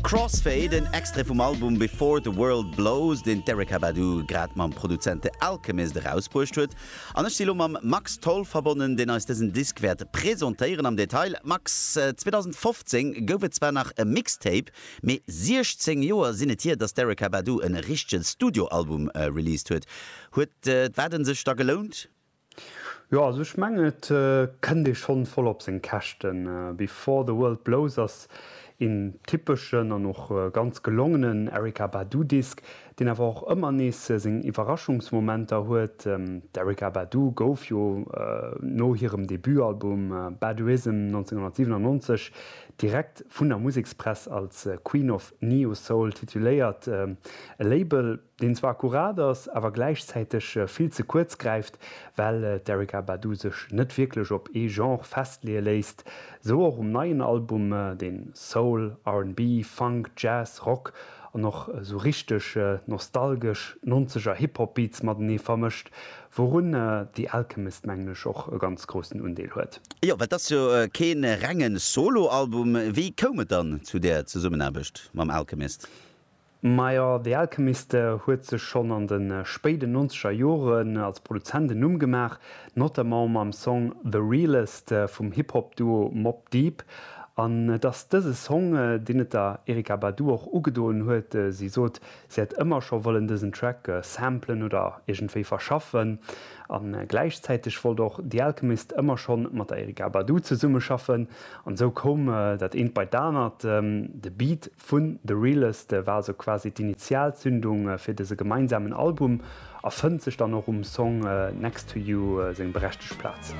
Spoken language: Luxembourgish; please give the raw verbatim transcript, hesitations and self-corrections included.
Crossfade, en Extrait vum Album Before the World Blows, deen d'Erykah Badu grad mam Produzent The Alchemist erausbruecht huet. An ech si lo mam Max Tholl verbonnen, deen eis dësen Disk wäert presentéieren am Detail. Max, zweedausendfofzéng gouf et zwar nach e Mixtape, mee siechzéng Joer sinn et hier, datt d'Erykah Badu e richtege Studioalbum released huet. Huet d'Waarden sech da gelount? Jo, also ech mengen et kënnt ee schonn voll op seng Käschten. Before the World Blows ass een typeschen an och ganz gelongenen Erykah Badu Disk, deen awer och ëmmer nees seng Iwwerraschungsmomenter huet. D'Erykah Badu gouf jo no hirem Debutalbum Baduizm nonzénghonnertsiwenannonzeg direkt vun der Musekspress als Queen of Neo Soul tituléiert, e Label, deen zwar akkurat ass, awer gläichzäiteg vill ze kuerz gräift, well d'Erykah Badu sech net wierklech op ee Genre festleeë léisst. Sou och um neien Album, deen Soul, R and B, Funk, Jazz, Rock an och sou richteg nostalgesch nonzeger Hip-Hop-Beats matenee vermëscht, wourun The Alchemist, mengen ech, och e ganz groussen Undeel huet. Jo, well et ass jo kee renge Solo-Album. Wéi koum et dann zu där Zesummenaarbecht mam Alchemist? Majo, The Alchemist huet sech schonn an de spéiden nonzeger Joren als Produzent en Numm gemaach, notamment mam Song The Realest vum Hip-Hop-Duo Mobb Deep. An et ass dëse Song, deen et der Erykah Badu och ugedoen huet. Si sot, si hätt ëmmer scho wëllen dësen Track samplen oder iergendwéi verschaffen. A gläichzäiteg wollt och The Alchemist ëmmer schonn mat der Erykah Badu zesummeschaffen. An esou koum dat eent bei d'anert. De Beat vun The Realest war sou quasi d'Initialzündung fir dëse gemeinsamen Album a fënnt sech dann och um Song Next to You seng berechtegt Plaz.